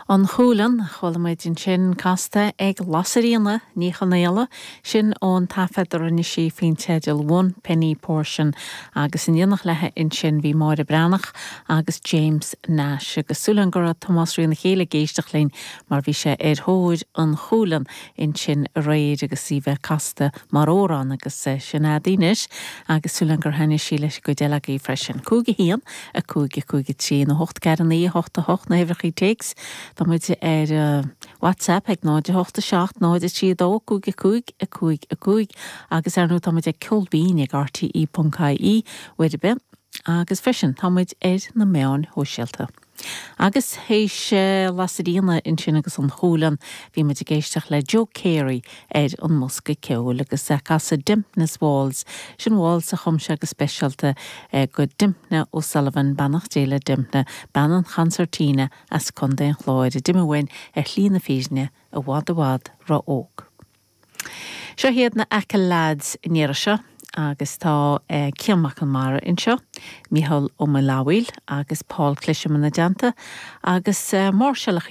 An Cualann, a chuala muid ansin casta ag Lasairfhíona Ní Chonaola, sin ón taifead a rinne sí faoin teideal One Penny Portion agus in éineacht léi ansin bhí Máire Breathnach agus James Nash agus súil agam go raibh Tomás Rí na Céile ag éisteacht linn mar bhí sé ar thóir An Cualann ansin aréir agus í bheith casta mar amhrán agus sin a'd anois agus súil agam gur thaitnigh sí leis an gcuid eile agaibh freisin. 5 1, 5 5 3 nó 8 4 9 8 8 na huimhreachaí téacs. Tá muid ar WhatsApp ag 0 8 7 0 3 2 5 5 5 5 agus ar ndóigh tá muid ag Ceol Binn ag rte ponc ie uair ar bith agus freisin tá muid ar na meáin shóisialta. Agus théis Lasairfhíona ansin agus An Cualann, bhí muid ag éisteacht le Joe Carey ar an mbosca ceoil agus é ag casadh Dympna's Waltz, sin waltz a chum sé go speisialta do Dympna O'Sullivan, beannacht Dé le Dympna, bean an chansairtín as Contae an Chláir a d'imigh uainn ar shlí na fírinne i bhfad i bhfad ró-óg. Seo iad na Achill Lads an iarraidh seo agus tá Cian Mac Conmara anseo, Mícheál Ó Maolfabhail agus Paul Clisham ina dteannta agus máirseáil.